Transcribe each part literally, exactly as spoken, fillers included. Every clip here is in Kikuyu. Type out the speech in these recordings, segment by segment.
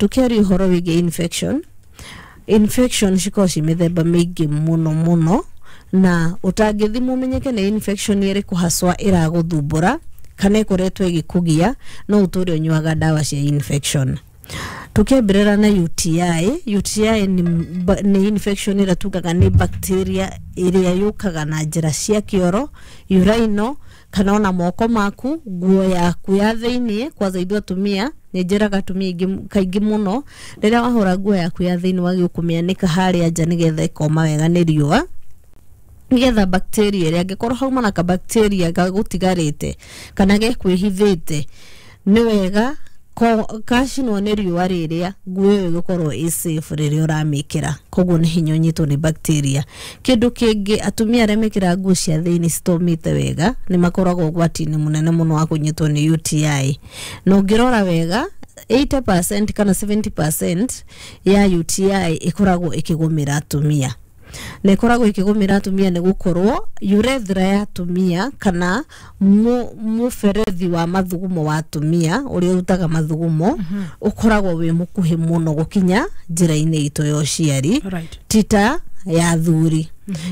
Tukiaria ũhoro wĩgiĩ infection, infection cikoragwo ci mĩthemba mĩingĩ mũno mũno, na ũtangĩthimwo ũmenyeke nĩ infection ĩrĩkũ haswa ĩragũthumbũra kana ĩkoretwo ĩgĩkũgia, no ũtũre ũnyuaga ndawa cia infection. Tukiambĩrĩra na U T I. U T I nĩ, ba- nĩ infection ĩrĩa tugaga nĩ bacteria ĩrĩa yũkaga na njĩra cia kĩoro, urinal, kana ona moko maku, nguo yaku ya thĩiniĩ. Kwanza ithuĩ atumia, nĩ njĩraga atumia aingĩ kaingĩ mũno, rĩrĩa wahũra nguo yaku ya thĩiniĩ wagĩrĩirwo kũmĩanĩka harĩa nja nĩgetha ĩkoma wega nĩ riũa, nĩgetha bacteria ĩrĩa angĩkorwo hauma na kabacteria gagũtigarĩte kana gekwĩhithĩte, nĩ wega ko- kacinwo nĩ riũa rĩrĩa nguo ĩyo ĩgũkorwo ĩ safe rĩrĩa ũramĩkĩra. Koguo nĩ hinya ũnyitwo nĩ bacteria. Kĩndũ kĩngĩ, atumia arĩa mekĩraga nguo cia thĩinĩ citomĩte wega nĩ makoragwo ũgwati-inĩ mũnene mũno wa kũnyitwo nĩ U T I. Na ũngĩrora wega, eighty percent kana seventy percent ya U T I ĩkoragwo ĩkĩgũmĩra atumia, na ĩkoragwo ĩkĩgũmĩra atumia nĩ gũkorwo urethra ya atumia kana mu- mũberethi wa mathugumo wa atumia ũrĩa ũrutaga mathugumo ũkoragwo wĩ mũkuhĩ mũno gũkinya njĩra-inĩ itũ ya ũciari, Right. tita ya athuri.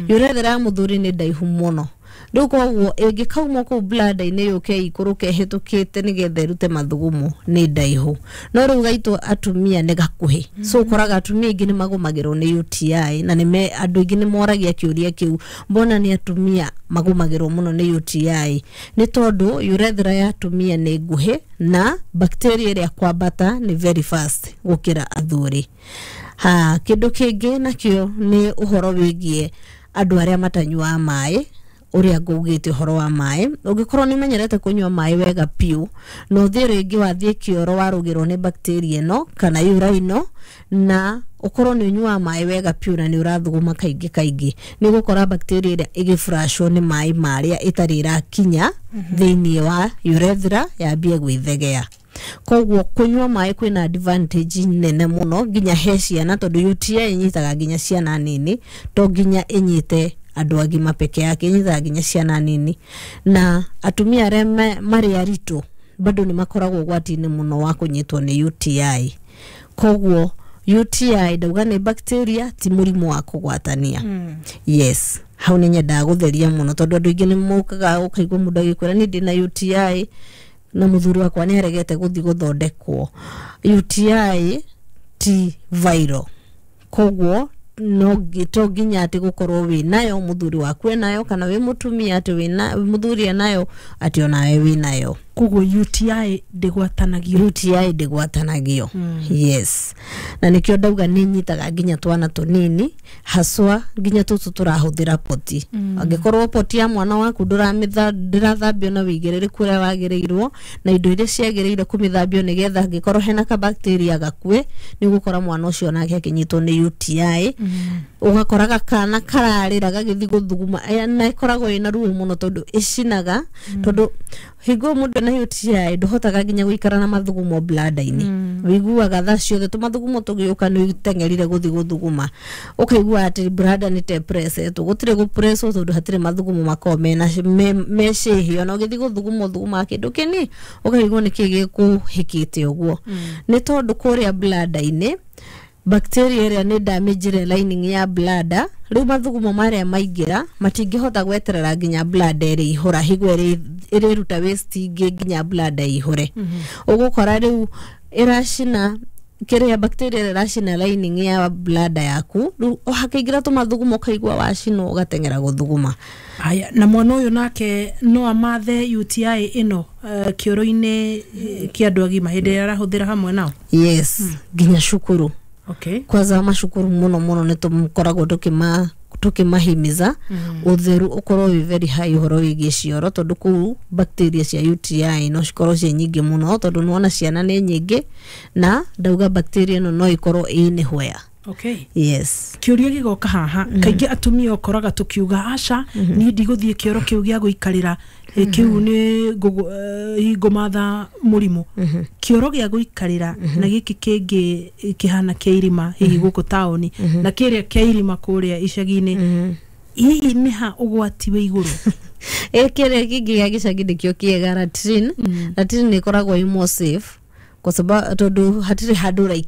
Urethra ya mũthuri nĩ ndaihu mũno. Rĩu koguo ĩngĩkauma kũu bladder-inĩ yũke ikũrũke ĩhĩtũkĩte nĩgetha ĩrute mathugumo nĩ ndaihu, no rĩu gaitũ atumia nĩ gakuhĩ. So ũkoraga atumia aingĩ nĩ magũmagĩrwo nĩ U T I, na nĩme andũ aingĩ nĩ moragia kĩũria kĩu, mbona nĩ atumia magũmagĩrwo mũno nĩ U T I? Nĩ tondũ urethra ya atumia nĩ nguhĩ na bacteria ĩrĩa kwambata nĩ very fast gũkĩra athuri. Ha, kĩndũ kĩngĩ nakĩo nĩ ũhoro wĩgiĩ andũ arĩa matanyuaga maĩ. Ũrĩa ngũgĩte ũhoro wa maĩ, ũngĩkorwo nĩ ũmenyerete kũnyua maĩ wega piũ, na ũthiĩ rĩngĩ wathiĩ kĩoro warũgĩrwo nĩ bacteria ĩno kana urinal, na ũkorwo nĩ ũnyuaga maĩ wega piũ na nĩ ũrathuguma kaingĩ kaingĩ, nĩ ũgũkora bacteria ĩrĩa ĩgĩflushwo nĩ maĩ marĩa ĩtarĩ ĩrakinya thĩiniĩ wa urethra yambie gwĩthegea. Koguo kũnyua maĩ kwĩna advantage nene mũno nginya he ciana, tondũ U T I ĩnyitaga nginya ciana nini, to nginya ĩnyite andũ agima peke yake, ĩnyitaga nginya ciana nini. Na atumia arĩa me- marĩ aritũ bado nĩ makoragwo ũgwati-inĩ mũno wa kũnyitwo nĩ U T I. Koguo U T I ndauga nĩ bacteria, ti mũrimũ wa kũgwatania. Yes, hau nĩ nyendaga gũtheria mũno, tondũ andũ aingĩ nĩ mokaga ũkaigua mũndũ agĩkwĩra, "Niĩ ndĩna U T I na mũthuri wakwa nĩ aregete gũthiĩ gũthondekwo." U T I ti viral, koguo no ngi- to nginya atĩ gũkorwo wĩ nayo mũthuri waku enayo, kana wĩ mũtumia atĩ wĩna mũthuri enayo atĩ onawe wĩ nayo. Koguo U T I ndĩgwatanagio? U T I ndĩgwatanagio, yes, na nĩkĩo ndauga nĩ nyitaga nginya twana tũnini, haswa nginya tũtũ tũrahũthĩra poti. Angĩkorwo poti ya mwana waku ndũramĩtha ndĩrathambio na wĩigĩrĩrĩku ũrĩa wagĩrĩirwo na indo iria ciagĩrĩire kũmĩthambio nĩgetha angĩkorwo hena kabacteria gakue, nĩ ũgũkora mwana ũcio nake akĩnyitwo nĩ U T I. Ũgakora gakana kararĩra gagĩthiĩ gũthuguma, eh, na ĩkoragwo ĩna ruo mũno tondũ ĩcinaga, tondũ hingo mũndũ ena U T I ndũhotaga nginya gũikara na mathugumo bladder-inĩ. Wĩiguaga thaa ciothe tũmathugumo tũgĩũka nĩ ũteng'erire gũthiĩ gũthuguma, ũkaigua atĩ bladder nĩ ta ĩpressetwo. Gũtirĩ gũpresswo tondũ hatirĩ mathugumo makoragwo mena me, me cĩhĩ. Ona ũgĩthiĩ gũthuguma ũthugumaga kĩndũ kĩni, ũkaigua nĩkĩ gĩkũhĩkĩte ũguo. Nĩ tondũ kũrĩa bladder-inĩ bacteria ĩrĩa nĩ damage lining ya bladder. Rĩu mathugumo marĩa maingĩra matingĩhota gweterera nginya bladder ĩrĩ ihũra higo ĩrĩ ĩrĩruta waste ingĩ nginya bladder ĩihũre. Ũgũkora rĩu ĩracina kĩrĩa, bacteria ĩrĩa ĩracina lining ya bladder yaku. Rĩu hakĩingĩra tũmathugumo ũkaigua wacinwo, ũgateng'era gũthuguma. Haya, na mwana ũyũ nake no amathe U T I ĩno uh, kĩoro-inĩ eh, kĩa andũ agima hĩndĩ ĩrĩa arahũthĩra hamwe nao? Yes, nginya cukuru. Okay kwanza macukuru mũno mũno nĩ tũkoragwo tũkĩma tũkĩmahimiza ũtheru ũkorwo wĩ very high ũhoro wĩgiĩ cioro, tondũ kũu bacteria cia U T I no cikorwo ciĩ nyingĩ mũno, tondũ nĩwona ciana nĩ nyingĩ, na ndauga bacteria ĩno no ĩkorwo ĩ nĩhwea. Okay yes. Kĩũria gĩgoka haha, kaingĩ atumia ũkoraga tũkiuga, "Aca, niĩ ndigũthiĩ kĩoro kĩu gĩa gũikarĩra, eh, kĩu nĩ ngũgũ- eh, ngũmatha mũrimũ." Kĩoro gĩa gũikarĩra na gĩkĩ kĩngĩ kĩhana kĩa irima hihi gũkũ taũni na kĩrĩa kĩa irima kũrĩa icagi-inĩ, hihi nĩ ha ũgwati wĩ igũrũ? Ĩ, kĩrĩa kĩngĩ gĩa gĩcagi nĩkĩo kĩega, latrine. Latrine nĩ ĩkoragwo ĩ more safe kwa sababu tondũ hatirĩ handũ ũraikara.